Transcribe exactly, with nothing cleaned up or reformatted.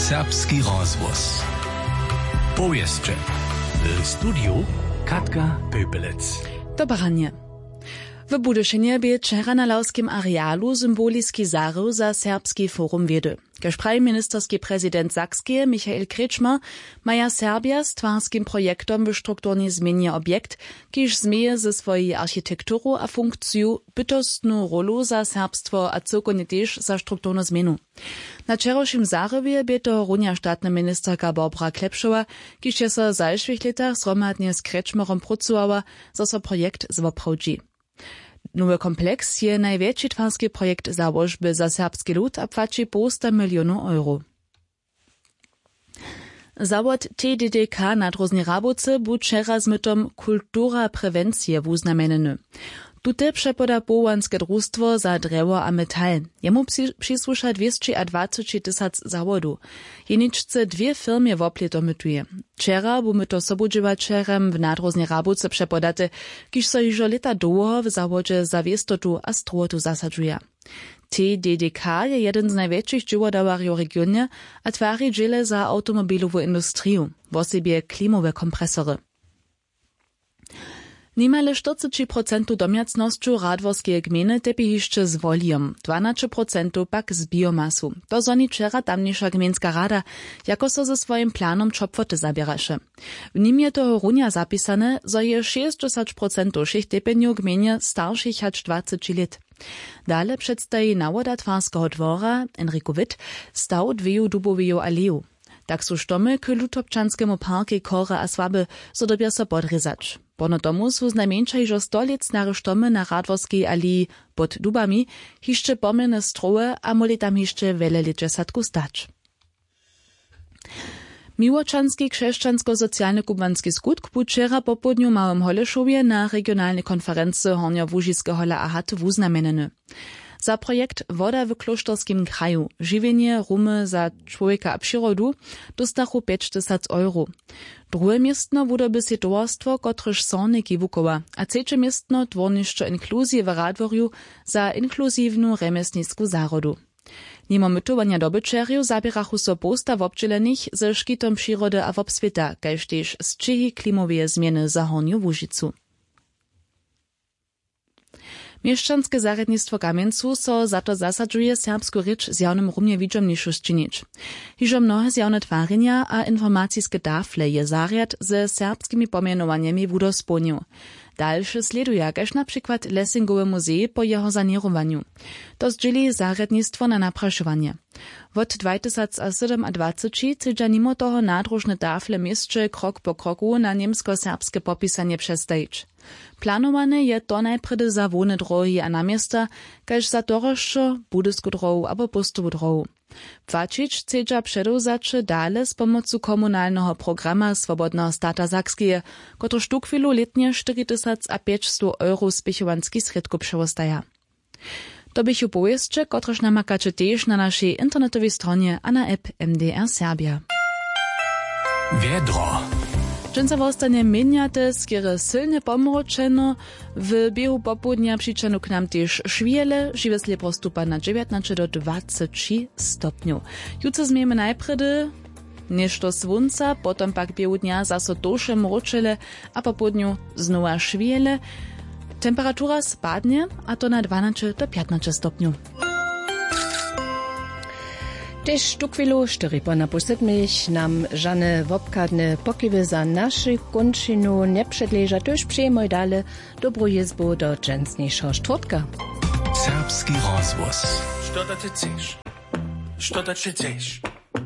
Serbski rozhłos. Powěsće. W studiju Katka Pöpelec. Dobre ranje. W Budyšinje bě wčera na lawskim arealu symboliski zahrył za Serbski forum wědy. Kaž praji ministerski prezident Sakskeje Michael Kretschmer, maja Serbja z twarskim projektom w strukturnej změnje objekt, kiž změje ze swojej architekturu a funkciju bytostnu rólu za serbstwo a cyłkownje tež za strukturnu změnu. Na wčerawšim zahriwje bě tohorunja statna ministerka Barbara Klepšowa, kiž je so w zašłych lětach zhromadnje z Kretschmerom prócowała, zo so projekt zwoprawdźi. Nowy kompleks je najwjetši twarski projekt załožby za serbski lud a płaći połsta milionow euro. Zawod T D D K na Dróžnej Rabowce bu wčera z mytom Kultura prewencije wuznamjenjeny. Tute přepoda powołanske drustwo za drjewo a metal. Jemu při- přisłuša dwěsći a dwaceći tysac zawodow. Jeničce dwě firmje woplěto mytuje. Wčera bu myto sobudźěłaćerjam w Nadróžnej Rabowce přepodate, kiž so hižo lěta dołho w zawodźe za wěstotu a strowotu zasadźuja. T D D K je jedyn z najwjetšich dźěłodawarjow w regionje a twari dźěle za awtomobilowu industriju, wosebje klimowe kompresory. Nimale štyrceći procentow domjacnosćow Radworskeje gmejny tepi hišće z wolijom, dwanaće procentow pak z biomasu. To zhoni wčera tamniša gmejnska rada, jako so ze swojim planom ćopłoty zaběraše. W nim je tohorunja zapisane, zo je šěsćdźesać procentow wšěch tepenjow w gmejnje staršich hač dwaceći lět. Dale předstaji nawoda twarskeho dwora Enrico Witt staw dweju duboweju aleju. Tak su štomy k lutobčanskemu parkej chore a słabe, zo dyrbja so podrězać. Pono tomu su znajmjeńša hižo sto lět stare štomy na Radworskej aleji pod dubami hišće pomjene strowe a móhli tam hišće wjele lětdźesatkow stać. Miłočanski křesćansko-socialny kubłanski skutk bu wčera popołdnju w Małym Holešowje na regionalnej konferency Hornjołužiskeho L A H T wuznamjenjeny. Za projekt Woda w klóšterskim kraju, žiwjenje rumy za čłowjeka a přirodu dóstachu pjećtysac euro. Druhe městno wudyrbi sej towarstwo, kotrež Sorniki wuchowa, a třeće městno Dwórnišćo inkluzije w Radworju za inkluziwnu rjemjesnisku zahrodu. Nimo mytowanja dobyćerjow zaběrachu so połsta wobdźělenych ze škitom přirody a wobswěta, kaž tež sćěhi klimoweje změny za Hornju Łužicu. Měšćanske zarjadnistwo w Kamjencu so za to zasadźuje, serbsku rěč w zjawnymrumje widźomnišu sčinić. Hižo mnohe zjawne twarjenja a informaciske tafle je zarjad ze serbskimi pomjenowanjemi wudospołnił. Dalše slěduja, kaž na přikład Lessingowy muzej po jeho saněrowanju. To zdźěli zarjadnistwo na naprašowanje. Wot dwajtysacasydomadwaceći chcedźa nimo toho nadróžne tafle w měsće krok po kroku na němskoserbske popisanje přestajić. Planowane je to najprjedy za hłowne dróhi a na města, kaž za Torosćo, Budysku dróhu abo Póstowu dróhu. Płaćić chcedźa předewzaće dale z pomocu komunalneho programa Swobodneho stata Sakskeje, kotryž tuchwilu lětnje štyri tysac a pjećstow euro spěchowanskich srědkow přewostaja. To běchu powěsće, kotrež namakaće tež na našej internetowej stronje a na app M D R Serbia. Wjedro. Dźensa wostanje měnjate, skerje sylnje pomročeno. W běhu popołdnja přićahnu k nam tež šwjele, žiwje slěpor stupa na dźewjatnaće do dwaceći stopnjow. Jutře změjemy najprjedy něšto słónca, potom pak běhu dnja zaso tołše mróčele a popołdnju znowa šwjele. Temperatura spadnje, a to na dwanaće do pjatnaće stopnjow. Tež tuchwilu štyri po na pół sydmich nam žane wobchadne pokiwy za našu kónčinu njepředleža, tuž přejemoj dale dobru jězbu do dźensnišeho štwórtka. Serbski rozhłos. Što da ty chceš? Što da ty chceš?